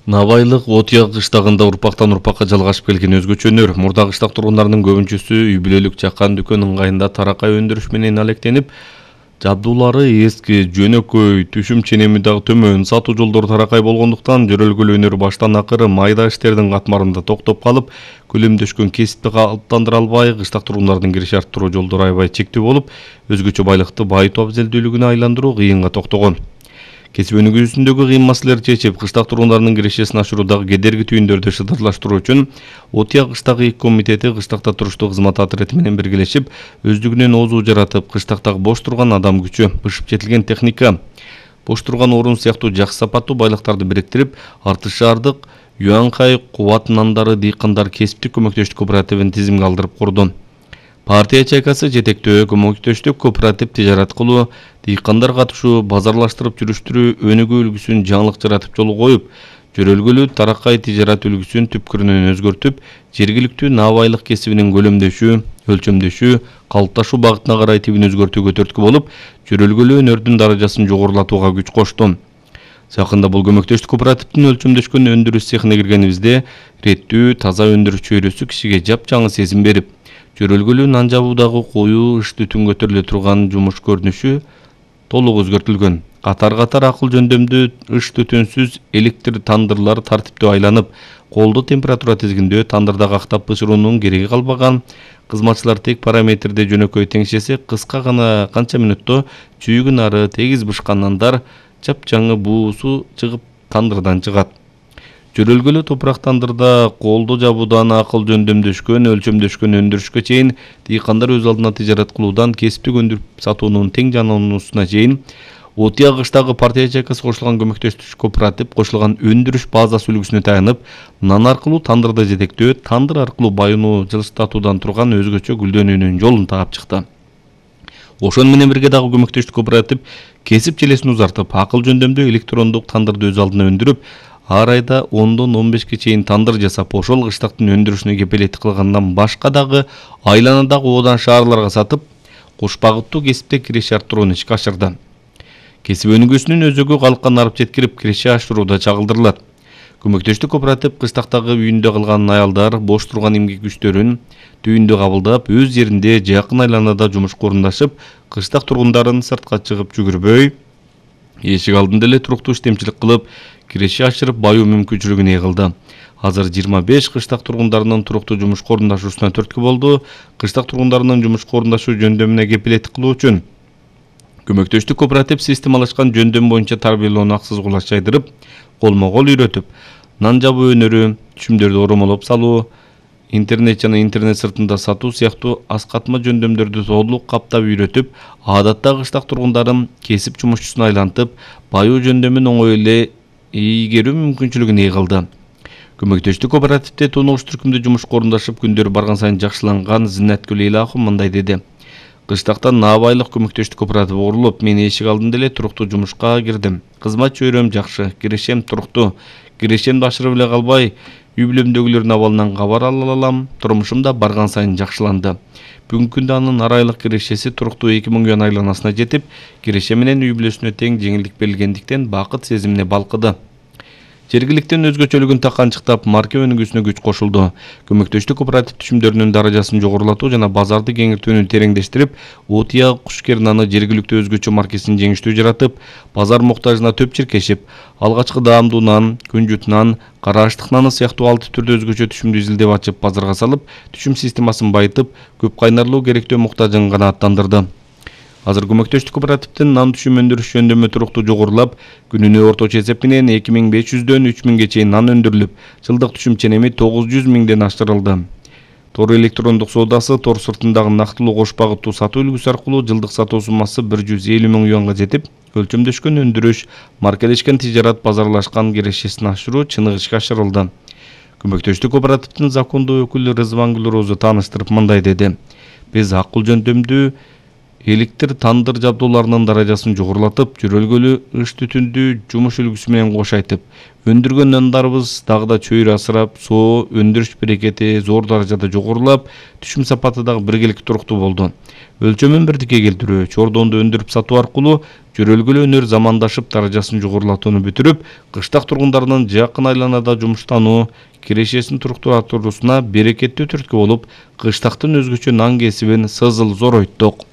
Навайлык Отуя кыштагында урпактан урпакка жалгашып келген өзгөчө өнөр. Мурда кыштак тургундарынын көбүнчөсү үй бүлөлүк жаккан дүкөн ыңгайында таракай өндүрүш менен алектенип, жабдуулары эски, жөнөкөй, түшүм ченеми дагы төмөн, сатуу жолдору таракай болгондуктан жөрөлгөлүү өнөр баштан акыры майда иштердин катмарында токтоп калып, көлөмдөшкөн кесипти калыптандыра албай, кыштак тургундардын кириш арттыруу жолдору аябай чектүү болуп, өзгөчө байлыкты байытуу абзелдүүлүгүнө айландыруу кыйынга токтогон. Кесип өнүгүүсүндөгү кыйын маселелерди чечип, кыштак тургундарынын кирешесин ашыруудагы кедерги түйүндөрдү шыдырлаштыруу үчүн Отуя кыштагы ИК комитети кыштакта туруштуу кызмат отряды менен биргелешип, өздүгүнөн оозу жаратып, кыштактагы бош турган адам күчү, бышып жетилген техника, бош турган орун сыяктуу жакшы сапаттуу байлыктарды бириктирип, Арты шаардык Юанхай кубат нандары дыйкандар кесиптик көмөктөштүк кооперативин тизимге алдырып курду. Партия чайкасы жетектөө көмөктөштүк кооператив тижарат кылуу, дыйкандар катышуу, базарлаштырып жүрүштүрүү өнүгүү үлгүсүн жаңылык жаратып жолго коюп, жөрөлгөлүү таракай тижарат үлгүсүн түпкүрүнөн өзгөртүп, жергиликтүү навайлык кесибинин көлөмдөшүү, өлчөмдөшүү, калыпташуу багытына карай тибин өзгөртүүгө түрткү болуп, жөрөлгөлүү өнөрдүн даражасын жогорулатууга күч кошту. Жакында бул көмөктөштүк кооперативдин өлчөмдөшкөн өндүрүш цехине киргенибизде, реттүү, таза өндүрүш чөйрөсү кишиге жапжаңы сезим берип, жөрөлгөлүү нан жабуудагы коюу иш түтүн көтөрүлө турган жумуш көрүнүшү толук өзгөртүлгөн. Катар акыл жөндөмдүү иш түтүнсүз электр тандырлар тартиптүү айланып, колдуу температура тизгиндөө тандырда кактап бышыруунун кереги калбаган. Кызматчылар тек параметрде жөнөкөй теңшесе, кыска гана канча мүнөттө чүйүгүн ары тегиз бышкан нандар жапжаңы буусу чыгып тандырдан чыгат. Жөрөлгөлүү топурак тандырда колдуу жабуудан акыл жөндөмдөшкөн, өлчөмдөшкөн өндүрүшкө чейин дыйкандар өз алдына тижарат кылуудан кесиптик өндүрүп сатуунун тең жануусуна чейин Отуя кыштагы партия чайкасы кошулган көмөктөштүк кооператив кошулган өндүрүш базасы үлгүсүнө таянып, нан аркылуу тандырды жетектөө, тандыр аркылуу байынуу жылыстатуудан турган өзгөчө гүлдөнүүнүн жолун таап чыкты. Ошону менен бирге дагы көмөктөштүк кооператив кесип желесин узартып, акыл жөндөмдүү электрондук тандырды өз алдына өндүрүп, ар айда 10дон 15ке чейин тандыр жасап, ошол кыштактын өндүрүшүнө кепилеттик кылгандан башка дагы айланадагы оодан шаарларга сатып, кош багыттуу кесипте киреше арттырууну ишке ашырды. Кесип өнүгүүсүнүн өзөгү калкка нарып жеткирип, киреше ашырууда чагылдырылат. Көмөктөштүк кооператив кыштактагы үйүндө калган аялдар бош турган эмгек күчтөрүн түйүндө кабылдап, өз жеринде жакын айланада жумушка орундашып, кыштак тургундарын сыртка чыгып жүгүрбөй, эшик алдында эле туруктуу иштемчилик кылып, киреше ашырып баюу мүмкүнчүлүгүн кылды. Азыр 25 кыштак тургундарынын туруктуу жумушка орундашуусуна түрткү болду. Кыштак тургундарынын жумушка орундашуу жөндөмүнө кепилеттик кылуу үчүн көмөктөштүк кооператив системалашкан жөндөм боюнча тарбиялоону аксыз кулаш жайдырып, колмо-кол үйрөтүп, нан жабуу өнөрү, түшүмдөрдү оромолоп салуу, интернет жана интернет сыртында сатуу сыяктуу аскатма жөндөмдөрдү толук каптап үйрөтүп, адатта кыштак тургундарын кесип жумушчусуна айлантып, баюу жөндөмүн оңой эле ийгерүү мүмкүнчүлүгүн кылды. Көмөктөштүк кооперативде тунугуш түркүмдө жумушка орундашып, күндөрү барган сайын жакшыланган Зиннеткүл Элахов мындай деди. Кыштакта Навайлык көмөктөштүк кооператив курулуп, мен эшик алдында эле туруктуу жумушка кирдим. Кызмат чөйрөм жакшы, кирешем туруктуу. Кирешемди ашырып эле калбай, үй бүлөмдөгүлөрдүн абалынан кабар ала алам. Турмушум да барган сайын жакшыланды. Бүгүнкү күндө анын ар айлык кирешеси туруктуу 2000 юан айланасына жетип, киреше менен үй бүлөсүнө тең жеңилдик берилгендиктен бакыт сезимине балкыды. Жергиликтен өзгөчөлүгүн таканчыктап, марка өнүгүүсүнө күч кошулду. Көмөктөштүк кооператив түшүмдөрүнүн даражасын жогорулатуу жана базарды кеңейтүүнү тереңдештирип, Отуя кушкер наны жергиликтүү өзгөчө маркесин жеңиштүү жаратып, базар муктажына төп чиркешип, алгачкы даамдуу нан, күнжүт нан, кара аштык наны сыяктуу алты түрдө өзгөчө түшүмдү изилдеп ачып, базарга салып, түшүм системасын байытып, көп кайнарлуу керектөө муктажын канааттандырды. Азыр көмөктөштүк кооперативдин нан түшүм өндүрүш жөндөмү туруктуу жогорулап, күнүнө орточо эсеп менен 2500дөн 3000ге чейин нан өндүрүлүп, жылдык түшүм ченеми 900 миңден аштырылды. Тор электрондук соодасы тор сыртындагы нактылуу кош багыттуу сатуу үлгүсү аркылуу жылдык сатуу суммасы 150 миң юанга жетип, өлчөмдөшкөн өндүрүш, маркалешкен тижарат базарлашкан кирешесин ашыруу чыныгы ишке ашырылды. Көмөктөштүк кооперативдин закондуу өкүлү Рызвангүл Роза тааныштырып мындай деди. Биз акыл жөндөмдүү Электр тандыр жабдууларынын даражасын жогорулатып, жөрөлгөлүү ыш түтүндү жумуш үлгүсү менен кош айтып, өндүргөн нандарыбыз дагы да чөйрө асырап, соо өндүрүш берекети зор даражада жогорулап, түшүм сапаты дагы биргеликти туруктуу болду. Өлчөмүн бирдикке келтирүү, чордонду өндүрүп сатуу аркылуу жөрөлгөлүү өнөр замандашып даражасын жогорулатууну бүтүрүп, кыштак тургундарынын жакын айланада жумуштануу, кирешесин туруктуу берекеттүү түрткү болуп, кыштактын өзгөчө нан кесибин сызыл зоройттук.